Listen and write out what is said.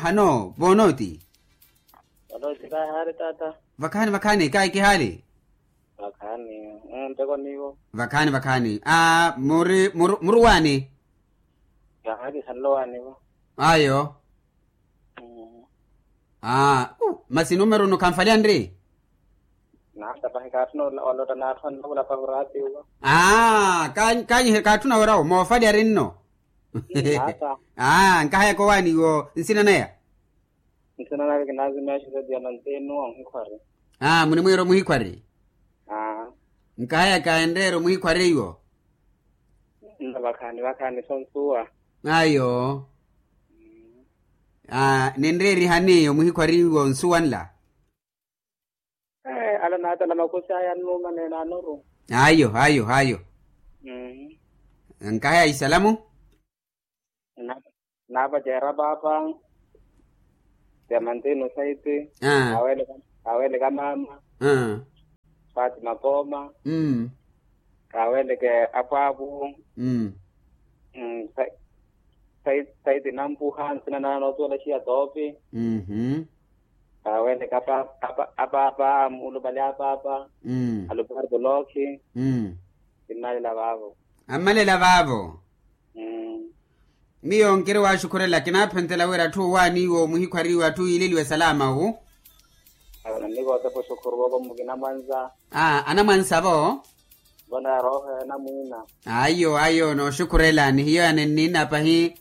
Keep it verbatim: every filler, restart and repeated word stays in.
Hano voonoti? Voonoti kahaari taata. Vakhaani vakhaani kahi kihaali. Vakhaani. Nteko niivo. Vakhaani vakhaani. Muri muri waani? Kahaari khanlo waanivo. Ayo. Masi numeru nu khanfalyanri? Naata pahi kaatthuna olotta naatthuna nlavula pahi oraatiwa. Kaanyihe kaatthuna orawo moofalya rinno. Naata. Nkahayaka owaani iwo nsina naya? Nsina naya kinazimeexa setiya mantenuwa omuhikhwari. Munimwiira omuhikhwari. Nkahayaka enreera omuhikhwari iwo. Nna vakhaani vakhaani sonsuwa. Ayo. Ninreerihani omuhikhwari iwo nsuwa nla? Ala naatala makhusi aya annuuma neenaanoru. Ayo ayo ayo. Nkahaya isalamu. Naavaceera paapa. Tiamantini osaiti. Kaaweleka maama. Fatima pooma. Kaaweleke apwaapu. Saiti nampuha nsina nana nootuwela xiya toopi. Kaaweleke apaapa mulupale apaapa. Alupari tulookhi. Kinnalela vaavo. Ammalela vaavo. Miyo nkiri waaxukhurela kinaaphentela wira atthu owaaniiwa omuhikhwariwa atthu yiileliwe salama wu. Anamwansa vo. Vona rooho ya namwiina. Ayo ayo nooxukhurela ni hiyo yanenniina pahi.